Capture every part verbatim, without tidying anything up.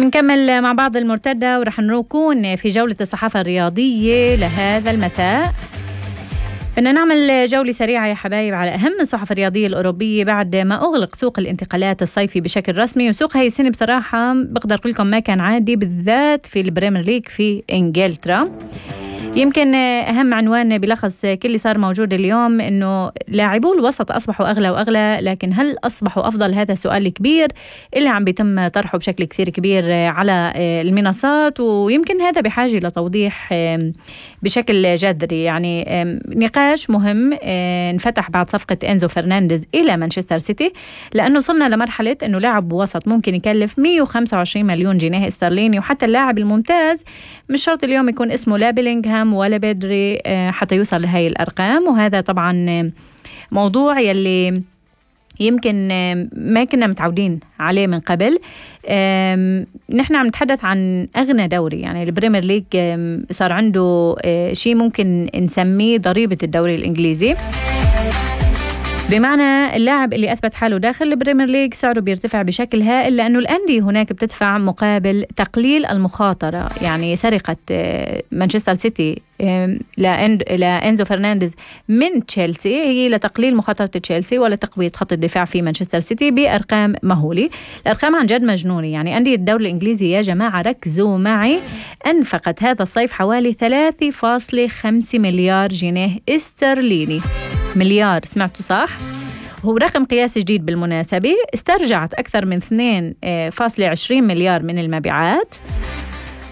منكمل مع بعض المرتدى ورح نكون في جولة الصحافة الرياضية لهذا المساء. بدنا نعمل جولة سريعة يا حبايب على أهم الصحف الرياضية الأوروبية بعد ما أغلق سوق الانتقالات الصيفي بشكل رسمي. وسوق هاي السنة بصراحة بقدر أقول لكم ما كان عادي، بالذات في البريمير ليج في إنجلترا. يمكن أهم عنوان بلخص كل اللي صار موجود اليوم إنه لاعبو الوسط أصبحوا أغلى وأغلى، لكن هل أصبحوا أفضل؟ هذا سؤال كبير اللي عم بيتم طرحه بشكل كثير كبير على المنصات، ويمكن هذا بحاجة لتوضيح بشكل جذري. يعني نقاش مهم انفتح بعد صفقة إنزو فرنانديز إلى مانشستر سيتي، لأنه صلنا لمرحلة إنه لاعب وسط ممكن يكلف مية وخمسة وعشرين مليون جنيه استرليني، وحتى اللاعب الممتاز مش شرط اليوم يكون اسمه لا بيلينغهام ولا بدري حتى يوصل لهاي الأرقام. وهذا طبعا موضوع يلي يمكن ما كنا متعودين عليه من قبل. نحن عم نتحدث عن أغنى دوري، يعني البريمير ليج صار عنده شيء ممكن نسميه ضريبة الدوري الإنجليزي، بمعنى اللاعب اللي أثبت حاله داخل البريمير ليج سعره بيرتفع بشكل هائل، لأنه الأندية هناك بتدفع مقابل تقليل المخاطرة. يعني سرقة مانشستر سيتي لإنزو فرنانديز من تشيلسي هي لتقليل مخاطرة تشيلسي ولا تقوية خط الدفاع في مانشستر سيتي بأرقام مهولة. الأرقام عن جد مجنونة. يعني أندية الدوري الإنجليزي يا جماعة ركزوا معي، أنفقت هذا الصيف حوالي ثلاثة فاصلة خمسة مليار جنيه استرليني. مليار، سمعتوا صح؟ هو رقم قياسي جديد بالمناسبة. استرجعت أكثر من اثنين فاصلة عشرين مليار من المبيعات.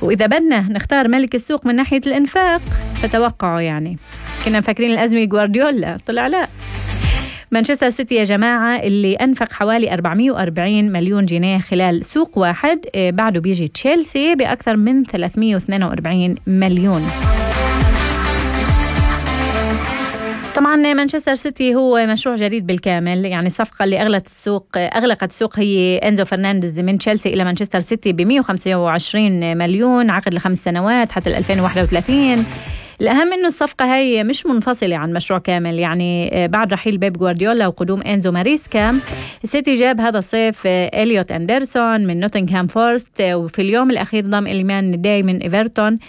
وإذا بدنا نختار ملك السوق من ناحية الإنفاق فتوقعوا، يعني كنا مفكرين الأزمة جوارديولا، طلع لا، مانشستر سيتي يا جماعة اللي أنفق حوالي أربعمية وأربعين مليون جنيه خلال سوق واحد. بعده بيجي تشيلسي بأكثر من ثلاثمية واثنين وأربعين مليون. طبعا مانشستر سيتي هو مشروع جديد بالكامل. يعني الصفقة اللي أغلقت السوق أغلقت السوق هي إنزو فرنانديز من تشيلسي إلى مانشستر سيتي ب مية وخمسة وعشرين مليون، عقد لخمس سنوات حتى ألفين وواحد وثلاثين. الأهم إنه الصفقة هي مش منفصلة عن مشروع كامل. يعني بعد رحيل بيب جوارديولا وقدوم إنزو ماريسكا، السيتي جاب هذا الصيف إليوت أندرسون من نوتنغهام فورست، وفي اليوم الأخير ضم إليمان داي من إيفرتون.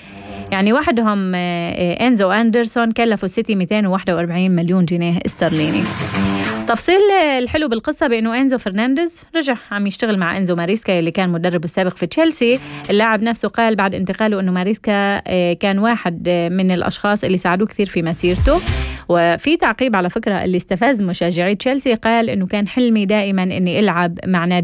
يعني وحدهم إنزو أندرسون كلفوا السيتي مئتين وواحد وأربعين مليون جنيه استرليني. تفصيل الحلو بالقصة بأنه إنزو فرنانديز رجع عم يشتغل مع إنزو ماريسكا اللي كان مدربه السابق في تشيلسي. اللاعب نفسه قال بعد انتقاله أنه ماريسكا كان واحد من الأشخاص اللي ساعدوه كثير في مسيرته. وفي تعقيب على فكرة اللي استفز مشجعي تشيلسي، قال أنه كان حلمي دائما أني ألعب مع نادي